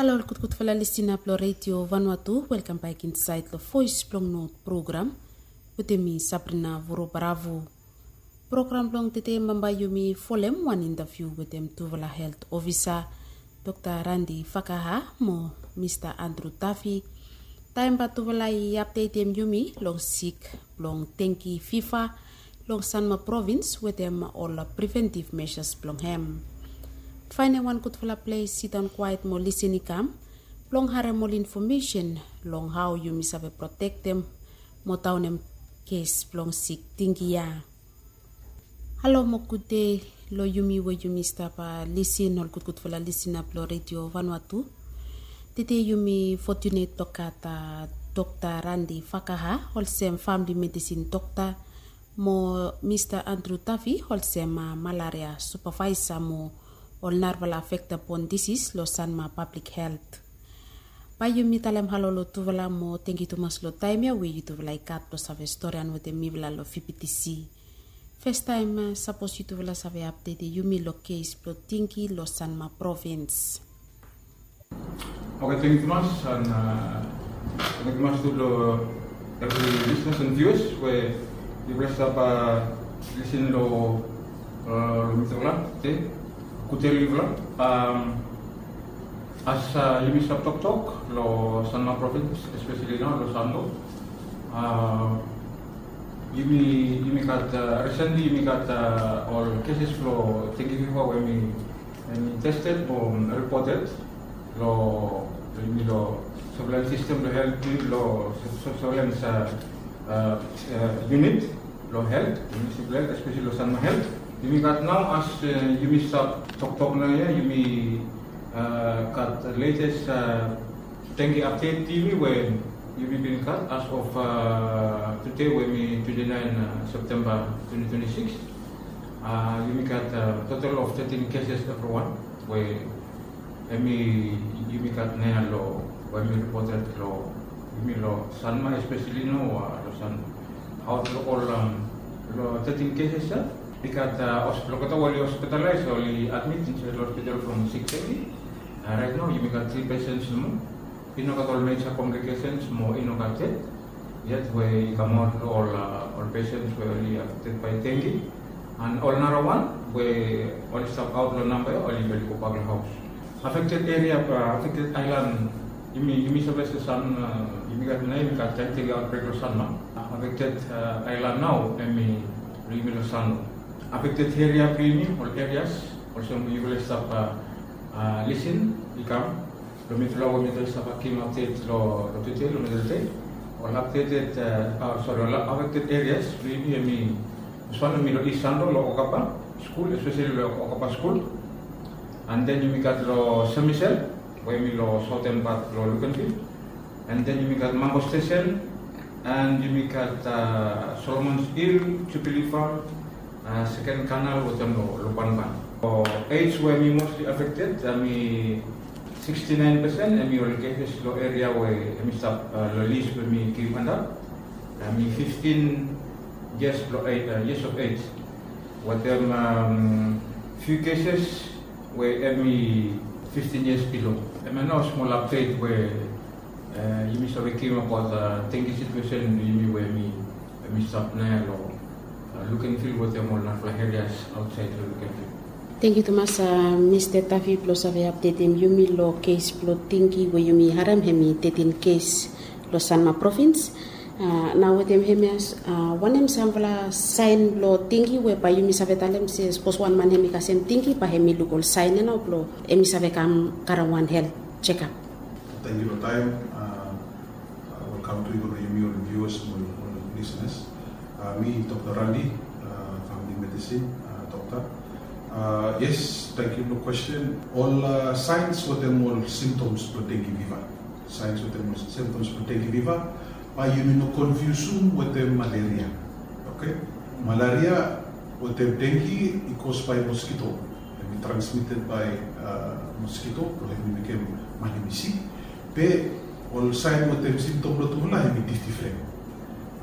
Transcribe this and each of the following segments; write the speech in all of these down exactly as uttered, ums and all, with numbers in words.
Halo ol gudgudfala lisina blong Redio Vanuatu, welkam bek insaed long Voes blong Not program wetem mi, Sabrina Vurobaravu. Program blong tede bambae yumi folem wan intaviu wetem tufala helt ofisa, Dokta Randi Fakaha mo Mista Andru Tafi, taem bae tufala i apdetem yumi long sik blong dengi fiva long Sanma provins wetem ol preventiv mesas blong hem. Faenem wan gudfala ples sidaon kwaet mo lisin i kam blong harem ol infomesen long hao yumi save protektem mo daonem kes blong sik dengi ya. Halo mo gude long yumi we yumi stap lisin, ol gudgudfala lisina blong Redio Vanuatu. Tede yumi fotunet blong gat Dokta Randi Fakaha olsem famili medisin dokta mo Mista Andru Tafi olsem malaria supavaesa mo ol narafala vekta bon disis long Sanma Pablik Helt. Bae yumi talem halo long tufala mo tengiu tumas long taem ya we yutufala i gat blong save storian wetem mifala long V B T C. Fastaem, sapos yutufala save apdetem yumi long kes blong dengi long Sanma provins. Oke, tengiu tumas, an tengiu tumas tu long evri lisenas an viuas we yufala stap lisin long mitufala tede. Gude long yufala. As yumi stap toktok long Sanma provins, espeseli nao long Santo, yumi, yumi gat, risenli yumi gat ol keses blong dengi fiva we hemi tested mo ripoted long, long yumi long surveillance system blong helt, long surveillance unit long helt, municipal helt, espeseli long Sanma Helt. Yumi gat nao, as yumi stap toktok nao ya, yumi gat latest dengi update yumi we yumi bin gat as of tede we hemi twenty nine September twenty twenty six. Yumi gat total of thirteen cases evriwan we hemi, yumi gat nao ya long we hemi ripoted long yumi long Sanma, espeseli nao long Sanma. Aot long ol, long thirteen cases ya, i gat olgeta we oli hospitalaes, oli admit insaed long hospital from sik teti. Raet nao yumi gat tri pesens nomo. I no gat ol meja komplikesens mo i no gat ded yet we i kamaot long ol, ol pesens we oli affected by dengue. An ol narawan we oli stap aot long namba ya, oli, oli gobak long haos. Affected eria, affected aelan, yumi, yumi save se sam, yumi gat nao, yumi gat teti outbreak long Sanma. Affected aelan nao hemi long yumi long Sanma. Affected eria blong yumi, ol erias olsem we yufala i stap lisin i kam long mitufala we mitufala i stap givim update long, long tede, long mitufala tede. Ol updated, sori, ol affected areas blong yumi hemi, this one hemi long East Santo long Okapa School, espeseli long Okapa School. An den yumi gat long Saint Michel we hemi long saoten pat blong Luganville. An den yumi gat Mango Station, an yumi gat Solomon's Hill, Jubilee Farm, Second Canal wetem long Lubanban. Ol age we hemi mostly affected hemi sixty nine percent, hemi ol cases long eria we hemi stap long list we mi givim antap. Hemi fifteen years blong, years of age wetem few cases we hemi fifteen years below. Hemia nao smol update we yumi save givim abaot dengue situation blong yumi we hemi, hemi stap nao ya long Luganville wetem ol narafala areas aotsaed long Luganville. Tengiu tumas Mista Tafi blong save apdetem yumi long kes blong dengue we yumi harem hemi thirteen kes long Sanma provins. Nao wetem hemia, wanem samfala saen blong dengue we bae yumi save talem se sapos wan man hemi kasem dengue bae hemi luk ol saen ya nao blong hemi save kam karem wan helt jekap? Tengiu long taem. Welkam tu i go long yumi ol viuas mo ol lisenas. Mi Dokta Randi, famili medisin dokta. Yes, tengiu long kwesten. Ol saens wetem ol simptoms blong dengue fiva. Saens wetem ol simptoms blong dengue fiva, bae yumi no konfiusum wetem malaria. Oke? Malaria wetem dengue i caused by mosquito. Hemi transmitted by mosquito blong hemi mekem man hemi sik. Be ol saen wetem simptom blong tufala hemi difdifren.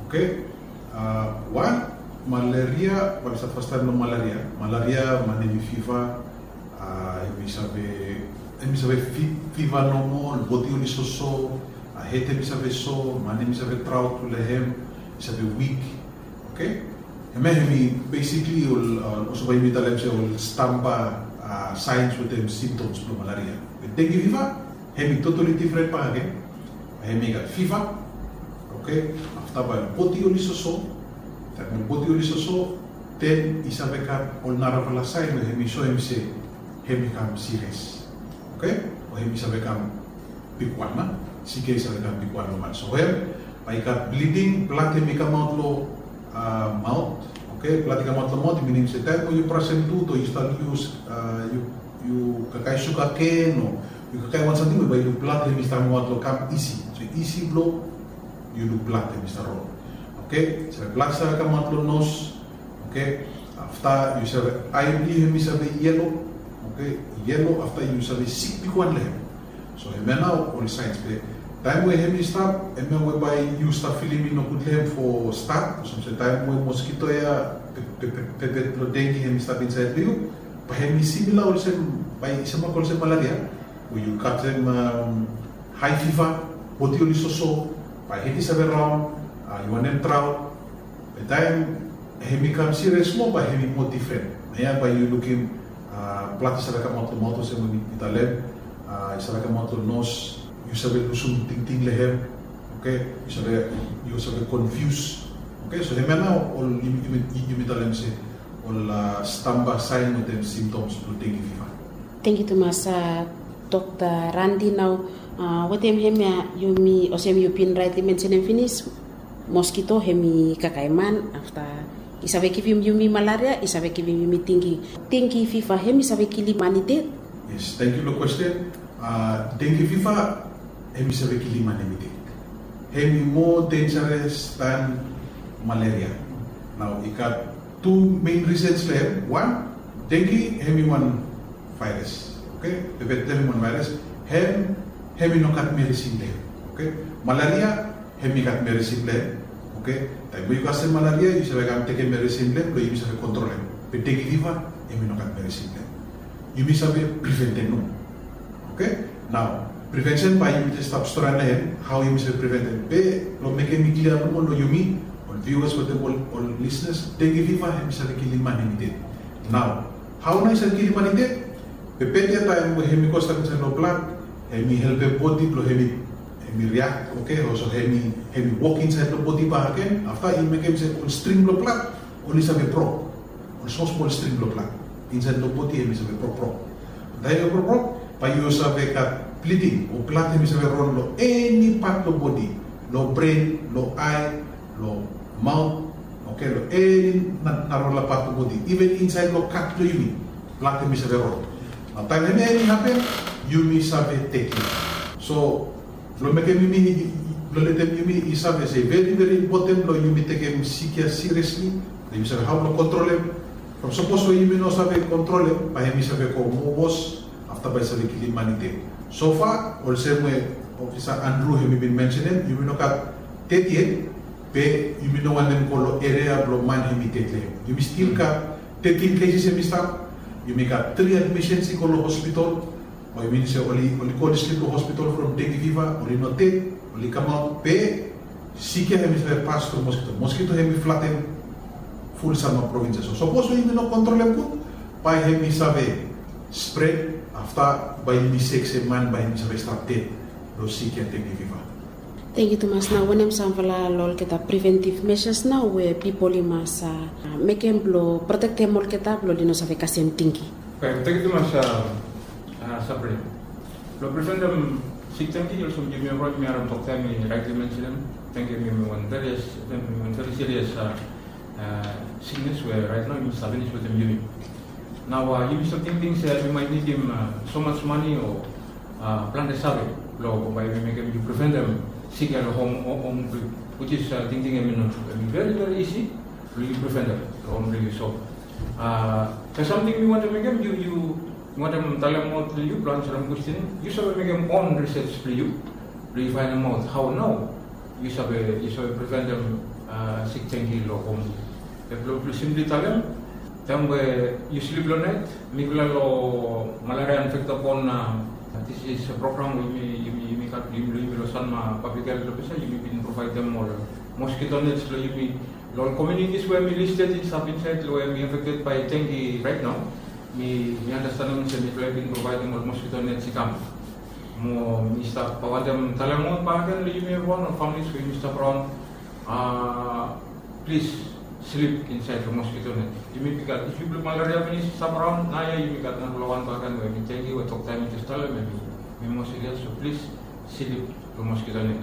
Oke? Wan, malaria, bae mi stat fastaem long malaria. Malaria, man hemi fiva, hemi save Hem i save fiva nomo, bodi oli soso, hed hem i save so, man hem i save traot long hem, i save wik. Oke. Hemia hem i basically ol, olsem bae yumi talem se ol stamba saens wetem simptoms blong malaria. Be dengue fiva hem i totally difren bakegen. Hem i gat fiva. Oke. Afta bae bodi oli soso, taem bodi oli soso, den i save gat ol narafala saen we hem i soem se hem i kam sirias. Oke. O hem i save kam bigwan na, sik ya i save kam bigwan long man. So hem bae i gat bliding, blad hem i kamaot long maot. Oke. Blad i kamaot long maot i minim se taem we yu brasem tut o yu stap yus, yu kakae sugaken o yu kakae wan samting we bae yu blad hem i stap kamaot long kam isi. So isi blong yu luk blad hem i stap rol. Oke. Save blad save kamaot long nos. Oke. Afta yu save, ae blong yu hem i save yelo. Oke. Yelo afta yu save sik bigwan long hem. So hemia nao ol saens be taem we hem i stap, hemia we bae yu stap filim i nogud long hem fo stat, olsem se taem we moskito ya pepet blong dengue hem i stap insaed long yu, bae hem i simila olsem, bae i semok olsem malaria, we yu gat hem hae fiva, bodi oli soso, bae hed i save raon, yu wantem traot. Be taem hem i kam sirias moa, bae hem i moa difren. Naoia bae yu lukim blad i save kamaot long maot olsem we mi talem, i save kamaot long nos, yu save lusum tingting long hem. Oke. Yu save, yu save konfius. Oke. So hemia nao ol yumi talem se ol stamba saen wetem simptoms blong dengue fiva. Tangkiu tumas, Dokta Randi. Nao wetem hemia yumi, olsem yu bin raetli mensenem finis, moskito hem i kakae man, afta i save givim yumi malaria, i save givim yumi dengue. Dengue fiva hem i save kilim man i ded? Yes, tangkiu long kwesten. Dengue fiva hem i save kilim man hem i ded. Hem i moa denjares dan malaria. Nao i gat tu mein risens long hem. Wan, dengue hem i wan vaeras. Oke. Pepet blong hem i wan vaeras. Hem, hem i no gat meresin long hem. Oke. Malaria hem i gat meresin blong hem. Oke. Taem we yu kasem malaria yu save kam tekem meresin blong hem blong yumi save kontrolem. Be dengue fiva hem i no gat meresin blong hem. Yumi save priventem nomo. Oke. Nao privensen bae yumi jes stap stori long hem, hao yumi save priventem. Be blong mekem i klia nomo long yumi ol viuas wetem ol lisnas, dengue fiva hem i save kilim man hem i ded. Nao hao nao i save kilim man i ded? Pepet ya taem we hem i go stap insaed long blad, hem i helpem bodi blong hem i riak. Oke. Olsem hem i wok insaed long bodi bakegen, afta i mekem se ol string blong blad oli save brok. Ol smol smol string blong blad insaed long bodi hem i save brokbrok. Taem i brokbrok bae yu save gat bliding o blad hem i save ron long eni pat blong bodi, long bren, long ae, long maot. Oke. Long eni narafala pat blong bodi, iven insaed long kat blong yumi blad hem i save ron. Nao taem hemia hem i hapen, yumi save tekem. So blong mekem yumi, blong letem yumi i save se veri veri impoten blong yumi tekem sik ya siriasli, blong yumi save hao blong kontrolem. From sapos we yumi no save kontrolem bae hem i save go moa wos, afta bae i save kilim man i ded. Sofa olsem we Ofisa Andru hem i bin mensenem, yumi no gat ded yet. Be yumi no wantem go long eria blong man hem i ded long hem. Yumi stil gat tetin keses hem i stap. Yumi gat tri admisens i go long hospital. Bae i minim se oli go oli slip long hospital from dengue fiva, oli no ded, oli kamaot. Be sik ya hem i save pas tru moskito. Moskito hem i flatem ful Sanma provins ya. So sapos we yumi no kontrolem gud, bae hem i save spred, afta bae yumi sek se man bae hem i save stap ded long sik ya dengue fiva. Tangkiu tumas. Nao wanem samfala long olgeta preventiv mesas nao we pipol i mas mekem blong protektem olgeta blong oli no save kasem dengue? Tangkiu tumas, Sabrina. Blong preventem sik dengue, olsem yumi ol yumi harem dokta hem i raetli mensenem, dengue hem i wan veri, hem i wan veri sirias siknes we raet nao i mas stap finis wetem yumi. Nao yumi stap tingting se yumi maet nidim somas mane o plante save blong bae yumi mekem yu preventem sik ya long hom blong yu, which is tingting hem i no, hem i veri veri isi blong yu preventem long hom blong yu. So be samting mi wantem mekem yu, yu, mi wantem talemaot long yu blong ansarem kwesten. Yu save mekem on risej blong yu blong yu faenemaot hao nao yu save, yu save preventem sik dengue long hom. Be blong, blong simpli talem, Taem we yu slip long nait, mifala long Malaria Infector Borne Disease Program we yumi, yumi, yumi gat, yumi, yumi long Sanma Public Health Officer, yumi bin provaedem ol mosquito nets long yumi long ol communities we mi listed i stap insaed long we mi affected by dengue right now. Mi, mi andastanem se mifala i bin provaedem ol mosquito nets i kam. Mo mi stap wantem talem ol bakegen long yumi evriwan, ol families we yumi stap raon, a, plis slip insaed long mosquito net. Yumi, bikos if yu blong malaria finis i stap raon, naoia yumi gat narafala wan bakegen we mi dengue we Dokta i jes talem hemi, hemi moa serious, so plis slip long mosquito net.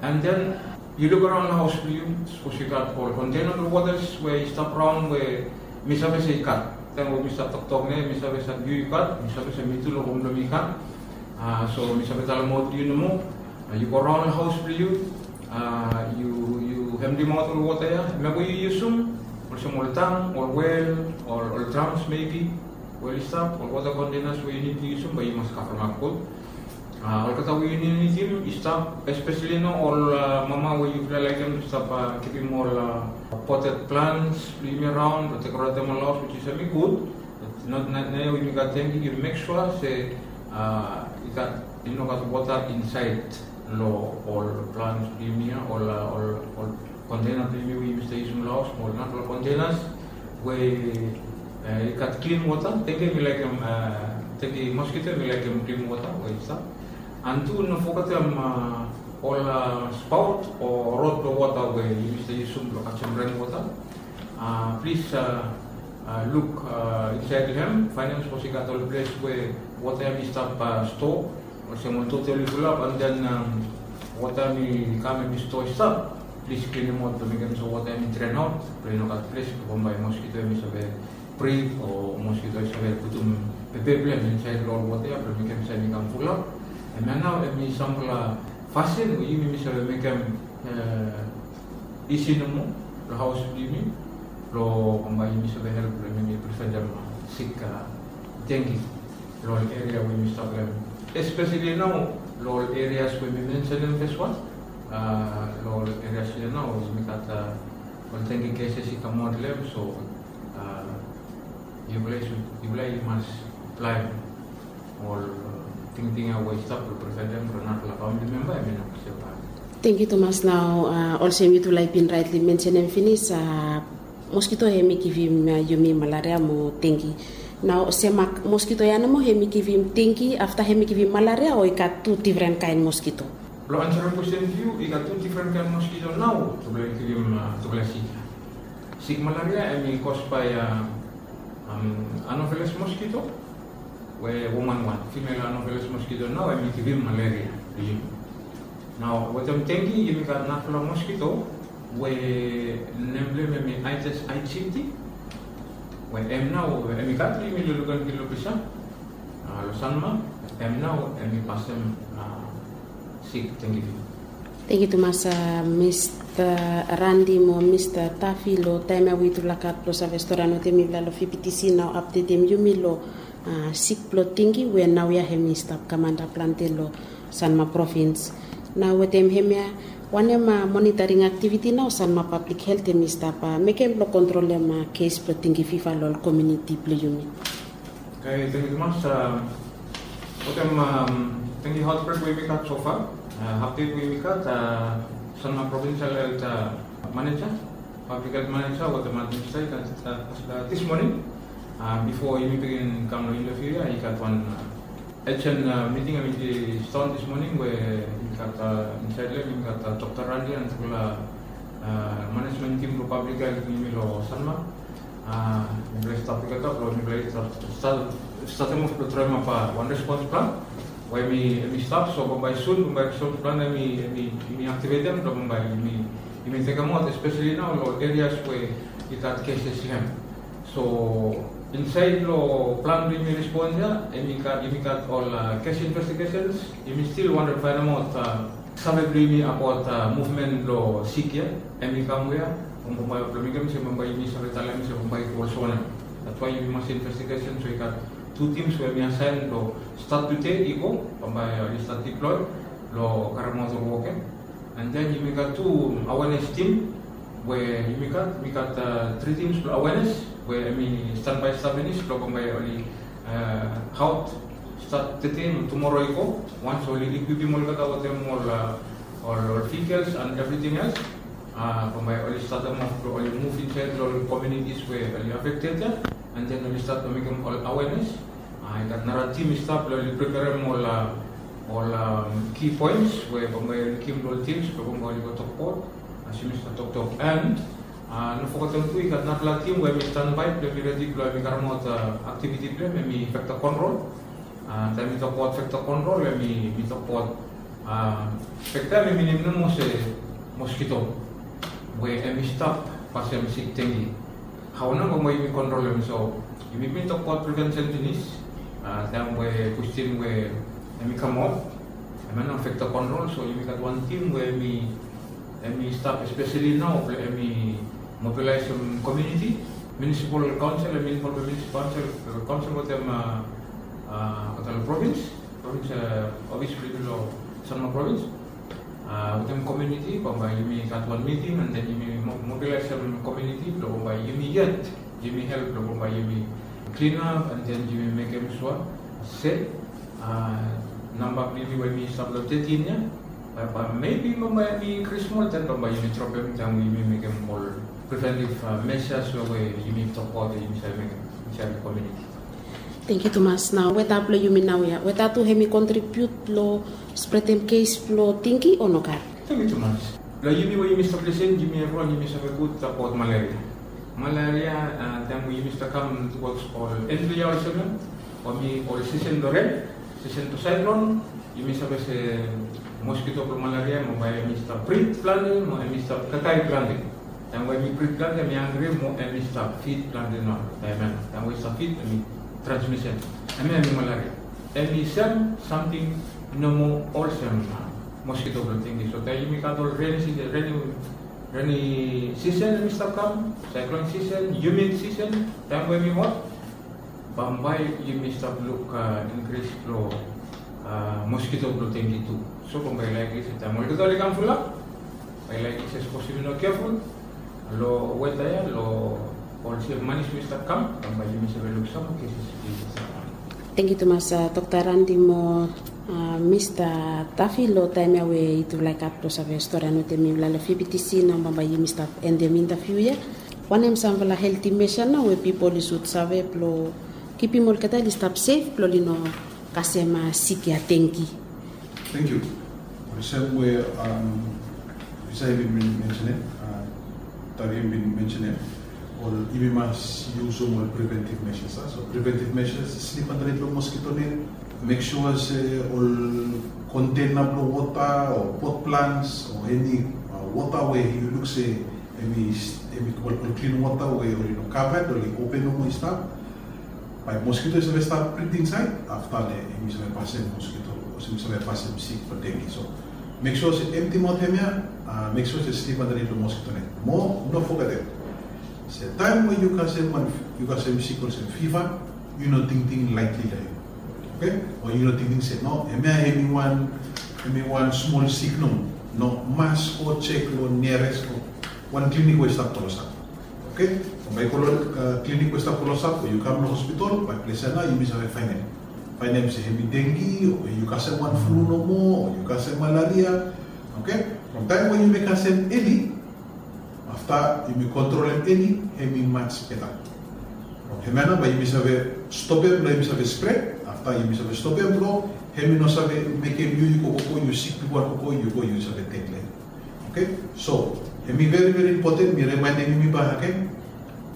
And then yu luk araon long haos blong yu, sapos yu gat ol container blong wota we i stap raon we mi save se i gat. Taem we mi stap toktok nao, mi save se yu i gat, mi save se mi tu long hom blong mi i gat. A, so mi save talemaot long yu nomo. A, yu go raon long haos blong yu, a, yu, yu emtimaot ol wota ia, hemia we yu yusum, olsem ol tang, ol well, ol, ol drums maybe, we oli stap, ol wota containers we yu nid long yusum, bae yu mas kavremap gud. A, olgeta we yu nid long yusum i stap, especially nao ol, a, mama we yufala laekem stap, a, kipim ol, a, potted plants blong yumi araon blong dekoretem ol haos, which is hemi gud. Nao, nao, naoia we yumi gat dengue, yu mek sua se, a, i gat, i no gat wota insaed long ol plants blong yumi ia, ol, a, ol, ol container blong yumi we yumi stap yusum long haos, mo ol narafala containers we, e, i gat klin wota. Dengue hemi laekem, e, dengue mosquito hemi laekem klin wota we i stap. And tu no fogetem, a, ol, a, spout o rod blong wota we yumi stap yusum blong kasem ren wota. A, plis, a, a, luk, a, insaed long hem, faenem sapos i gat ol ples we wota ia hemi stap, a, stoa, olsem ol tote oli fulap, and then, am, wota ia hemi kam hemi stoa i stap, plis klinemaot blong mekem se wota ia hemi dren aot, blong i no gat ples blong bambae mosquito hemi save breed o mosquito i save putum pepe blong hem insaed long ol wota ia blong mekem se hemi kam fulap. Hemia nao hemi samfala fasin we yumi, mi save mekem, e, isi nomo long haos blong yumi, blong bambae yumi save help blong yumi preventem, a, sik, a, dengue long ol eria we yumi stap long hem. Especially nao long ol erias we mi mensenem feswan, a, long ol erias ia nao we yumi gat, a, ol dengue cases i kamaot long hem, so, a, yufala i sud, yufala i mas aplaem ol, a, tingting ia we i stap blong preventem blong narafala famili memba hemi no stap. Tangkiu tumas. Nao, a, olsem yutufala i bin raetli mensenem finis, a, mosquito hemi givim, a, yumi malaria mo dengue. Nao olsem, a, mosquito ia nomo hemi givim dengue, afta hemi givim malaria, o i gat tu difren kaen mosquito? Blong ansarem kwesten blong yu, i gat tu difren kaen mosquito nao tufala i givim, a, tufala sik. Sik malaria hemi cause by, a, am, Anopheles mosquito, we woman wan, female Anopheles mosquito nao hemi givim malaria long yumi. Nao wetem dengue yumi gat narafala mosquito we nem blong hem hemi Aedes aegypti, we hem nao hemi gat long yumi long Lukenville long Bishan, a, long Sanma, hem nao hemi pasem, a, sik dengue fever. Tangkiu tumas, a, Mista Randi mo Mista Tafi, long taem ia we yutufala gat blong save stori noting mifala long V B T C nao apdetem yumi long, a, sik blong dengue we naoia hemi stap kam anda plante long Sanma provins. Nao wetem hemia, wanem, a, monitoring activity nao Sanma Public Health hemi stap, a, mekem blong kontrolem, a, kes blong dengue fever long komuniti blong yumi? Oke, tangkiu tumas. A, wetem, am, dengue outbreak we yumi gat so far, a, update we yumi gat, a, Sanma Provincial Health, a, Manager, Public Health Manager wetem administrator, a, a, this morning, a, bifo yumi bigin kam long interview ia, i gat wan, a, urgent, a, meeting hemi stap on this morning we yumi gat, a, insaed long hem yumi gat, a, Dokta Randi and tufala, a, management team blong Public Health blong yumi long Sanma. A, mifala i stap tugeta blong mifala i stap, stap, statem of blong draemap, a, wan response plan we hemi, hemi stap, so bambae sun bambae response plan hemi, hemi, hemi activatem blong bambae yumi, yumi tekemaot, especially nao long ol erias we i gat cases long hem. So insaed long plan blong yumi respons ia, yumi gat, yumi gat ol, a, case investigations, yumi stil wantem faenemaot, a, save blong yumi abaot, a, movement blong sik ia, hemi kam wea, bambae blong mekem se bambae yumi save talem se bambae i go olsem wanem. That's why yumi mas investigation, so i gat tu teams we hemi asaen blong stat tede i go, bambae oli stat deploy blong karemaot ol wok ia. And then yumi gat tu awareness team we yumi gat, yumi gat, a, tri teams blong awareness. we hemi stanbae stap finis blong bambae oli, a, haot stat tede mo tumoro i go, wans oli ikwipim olgeta wetem ol, a, ol, ol vehikels and evriting els. A, bambae oli statem of blong oli muv insaed long ol communities we oli afekted ia, and then oli stat blong mekem ol awareness. A, i gat nara tim i stap blong oli preperem ol, a, ol, a, key points we bambae oli givim long ol tims blong bambae oli go tokbaot. A, as yumi stap toktok, and, a, no fogetem tu i gat narafala tim we hemi stanbae blong hemi redi blong hemi karemaot, a, aktiviti blong hem, hemi vector control. A, taem mi tokbaot vector control, hemi, mi tokbaot, a, vector hemi minim nomo se moskito we hemi stap pasem sik dengue. Hao nao bambae yumi kontrolem? So yumi bin tokbaot prevention finis, a, taem we kwestin we hemi kamaot, hemia nao vector control. So yumi gat wan tim we hemi, hemi stap espeseli nao blong hemi mobilaesem komuniti, municipal council, hemi involvem municipal council, council wetem, a, a, olgeta provins, provins, a, ofis blong yumi long Sanma provins. A, wetem komuniti, bambae yumi gat wan miting, and then yumi mo-, mobilaesem komuniti blong bambae yumi yet, yumi help blong bambae yumi clean up, and then yumi mekem sua se, a, namba blong yumi we yumi stap long tetin ia, bae, bae maybe bambae hemi inkris smol, then bambae yumi dropem taem we yumi mekem ol preventive, a, measures we, we yumi tokbaot we yumi save mekem insaed long komuniti. Tangkiu tumas. Nao weta blong yumi naoia, weta tu hemi kontribiut long spredem kes blong dengue o nogat? Tangkiu tumas. Long yumi we yumi stap lisin, yumi evriwan yumi save gud abaot malaria. Malaria, a, taem we yumi stap kam tuwods ol en blong yia olsem ia, o hemi ol sisen blong ren, sisen blong saeklon, yumi save se moskito blong malaria mo bae hemi stap brid plante mo hemi stap kakae plante. Taem we hemi brid plante, hemi hangre mo hemi stap fid plante nao. Taem ia, taem we i stap fid, hemi transmission. Hemia hemi malaria. Hemi sem samting nomo olsem, a, moskito blong dengue. So taem yumi gat ol reni sisen, reni, reni sisen hemi stap kam, saeklon sisen, humid sisen, taem we hemi hot, bambae yumi stap luk, a, inkris blong, a, moskito blong dengue tu. So bambae i laek se taem olgeta oli kam fulap, bae i laek se sapos yumi no keful long weta ia, long olsem manis we i stap kam, bambae yumi save luk sam moa keses. Tangkiu tumas, a, Dokta Randi mo, a, Mista Tafi, long taem ia we yutufala i gat blong save storian wetem mifala long V B T C. Nao bambae yumi stap endem intaviu ia. Wanem samfala helti measure nao we pipol i sud save blong kipim olgeta oli stap sef blong oli no kasem, a, sik ia dengue? Tangkiu. Olsem we, am, Isai bin mensenem, a, Tavi bin mensenem, ol yumi mas yusum ol preventive measures, a. So preventive measures, sleep underneath long mosquito net, make sure se ol container blong wota o pot plants o eni, a, wota we yu luk se hemi, hemi ol, ol klin wota we oli no covered, oli open nomo i stap. Bae moskito i save stap brid insaed, afta nao hemi save pasem moskito, hemi save pasem sik blong dengue. So make sure se empti maot hemia, a, make sure se sleep underneath long mosquito net. Mo no fogetem se taem we yu kasem wan, yu kasem sik olsem fiva, yu no tingting lightly long hem. Oke? O yu no tingting se no, hemia hemi wan, hemi wan smol sik nomo. No, mas go jek long niarest wan klinik we i stap klosap. Oke? Bae yu go long, a, klinik we i stap klosap o yu kam long hospital, bae ples ia nao yumi save faenem. Faenem se hemi dengue, o yu kasem wan flu nomo, o yu kasem malaria. Oke? From taem we yumi kasem eli, afta yumi kontrolem eli, hemi much better. From hemia nao bae yumi save stopem blong hemi save spread, afta yumi save stopem blong hemi no save mekem yu, yu go, go, go, yu sik bigwan, go, go, yu go, yu save ded long hem. Oke? So hemi veri, veri impoten, mi rimaenem yumi bakegen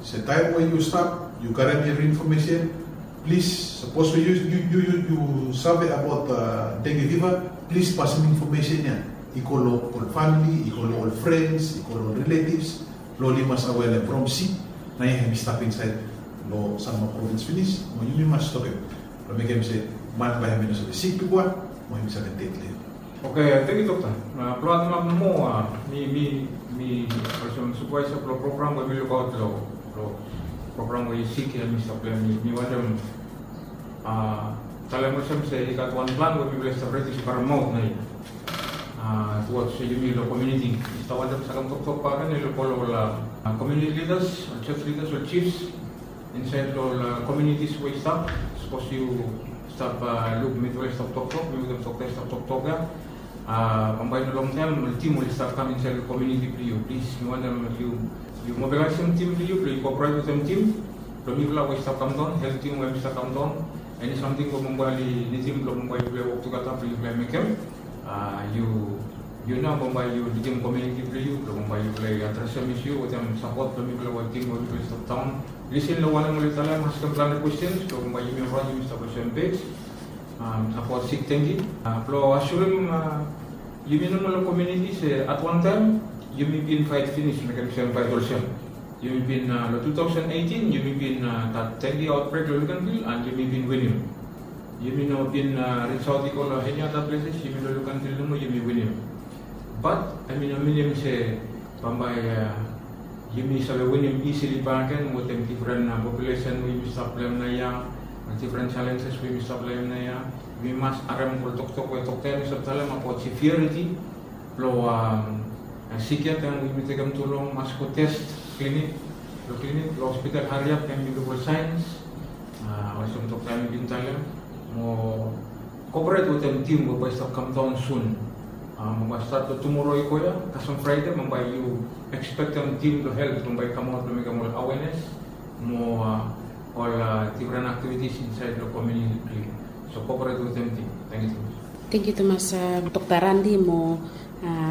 se taem we yu stap, yu karem evri infomesen, plis, sapos we yu, yu, yu, yu, yu save abaot, a, dengue fiva, plis pasem infomesen ia i go long ol famili, i go long ol frens, i go long ol relatives, blong oli mas awe long hem from sik, naoia hemi stap insaed long Sanma provins finis, mo yumi mas stopem blong mekem se man bae hemi no save sik bigwan, mo hemi save ded long hem. Oke, tangkiu Dokta. A, blong ademap moa, a, mi, mi, mi olsem supervisor blong program we mi lukaot long, long program we i sik ia, mi stap long hem, mi, mi wantem, a, talem olsem se i gat wan plan we mifala i stap redi blong karemaot naoia. A, tuwods yumi long komuniti. Mi stap wantem sakem toktok bakegen long ol, ol, a, komuniti lidas, ol church lidas, ol chiefs. Insaed long ol komunitis we i stap, sapos yu stap luk mifala i stap toktok, mi wetem dokta i stap toktok ya. Bambae i no longtaem ol tim oli stap kam insaed long komuniti blong yu. Plis, mi wantem yu mobilaesem tim blong yu blong yu kooperet wetem tim blong mifala we i stap kamdaon, helt tim we i stap kamdaon. Eni samting we bambae oli nidim blong bambae yufala i wok tugeta blong yufala i mekem. Yu nao bambae yu lidim komuniti blong yu blong bambae yufala i adresem isu wetem sapot blong mifala we tim we mifala i stap daon. Lisin long wanem oli talem, askem plante kwestens blong bambae yumi ol wan yumi stap long sem pej. Abaot sik tengi blong asurim yumi nomo long komuniti se at wan taem yumi bin faet finis mekem sem faet olsem. Yumi bin long two thousand eighteen yumi bin gat tengi aotbrek long Luganville and yumi bin winim. Yumi no bin risaot i go long eni ada pleses, yumi long Luganville nomo yumi winim. Bat hemi no minim se bambae yumi save winim isili bakegen wetem difren populesen we yumi stap long hem naoia, difren jalenjes we yumi stap long hem naoia. Yumi mas harem ol toktok we dokta hemi stap talem abaot severiti blong sik ya taem we yumi tekem tu long mas go tes klinik, long klinik long hospital hariap taem yumi luk ol saens. Olsem dokta hemi bin talem mo kooperet wetem tim we bae i stap kamdaon sun. Mo bae stat long tumoro i go ya kasem Fraede mo bae yu ekspektem tim blong helt blong bae i kamaot blong mekem ol awenes mo ol difren aktivitis insaed long komuniti blong yu. So kooperet wetem tim. Tangkiu tumas. Tangkiu tumas dokta Randi mo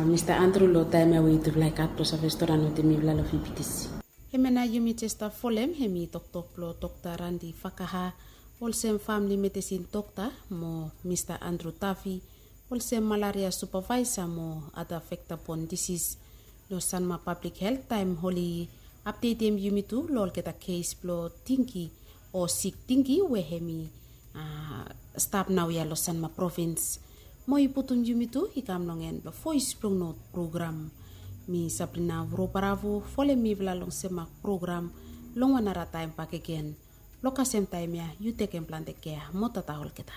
Mista Andru long taem ya we yutufala i gat blong save storian wetem mifala long V B T C. Hemia nao yumi jes stap folem hemi toktok blong dokta Randi Fakaha olsem famili medesin dokta mo Mista Andru Tafi olsem malaria supavaesa mo ada vektabon disis long Sanma Pablik Helt taem oli apdetem yumi tu long olgeta kes blong dingi o sik dingi we hemi stap naoia long Sanma provins. Mo i putum yumi tu i kam long en blong Voes blong Not program. Mi Sabrina Vurobaravu, folem mifala long Sanma program long wan nara taem bakegen. Long kasem taem ya yu tekem plante kea mo tata olgeta.